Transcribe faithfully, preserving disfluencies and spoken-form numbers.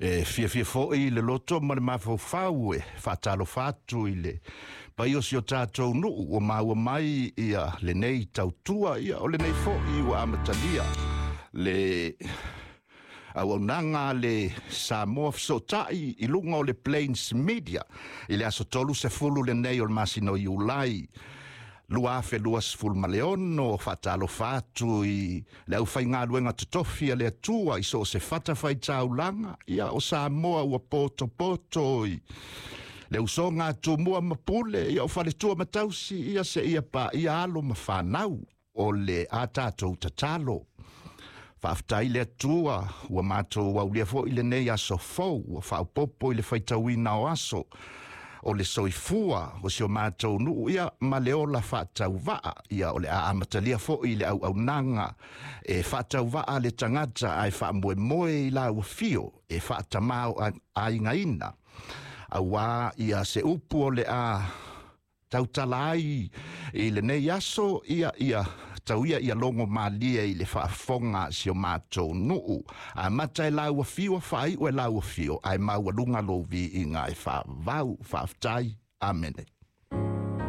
E fiafia foʻi le loto ma le mafaufau e faatalofa atu i le paia o si o tatou nuu ua maua mai ia lenei tautua, ia o lenei foʻi ua amatalia le auaunaga le Samoa Fesootai i luga o le Plains Media i le aso tolu sefulu lenei o le masina o Iulai lua afe lua sefulu ma le ono. Faatalofa atu i le aufaigaluega totofi a le Atua i so o se fatafaitaulaga ia o Samoa ua potopoto i le usoga a Tumua ma Pule, ia o faletua ma tausi, ia seia paia alo ma fanau o le a tatou tatalo. Faafetai le Atua ua matou aulia foʻi lenei aso fou ua faaopopo i le faitauina o aso o le soifua o si o matou nuu ia ma le ola faatauvaa, ia o le a amatalia foʻi le auaunaga e faatauvaa le tagata ae faamoemoe i la ua fio e faatamao aigaina auā ia se upu o le a tautala ai i lenei aso, ia ia tauia ia logo malie i le faafofoga a si o matou nuu. Amata e lau afio, faaiu e lau afio, ae maualuga lou viiga e faavau. Faafetai, amene.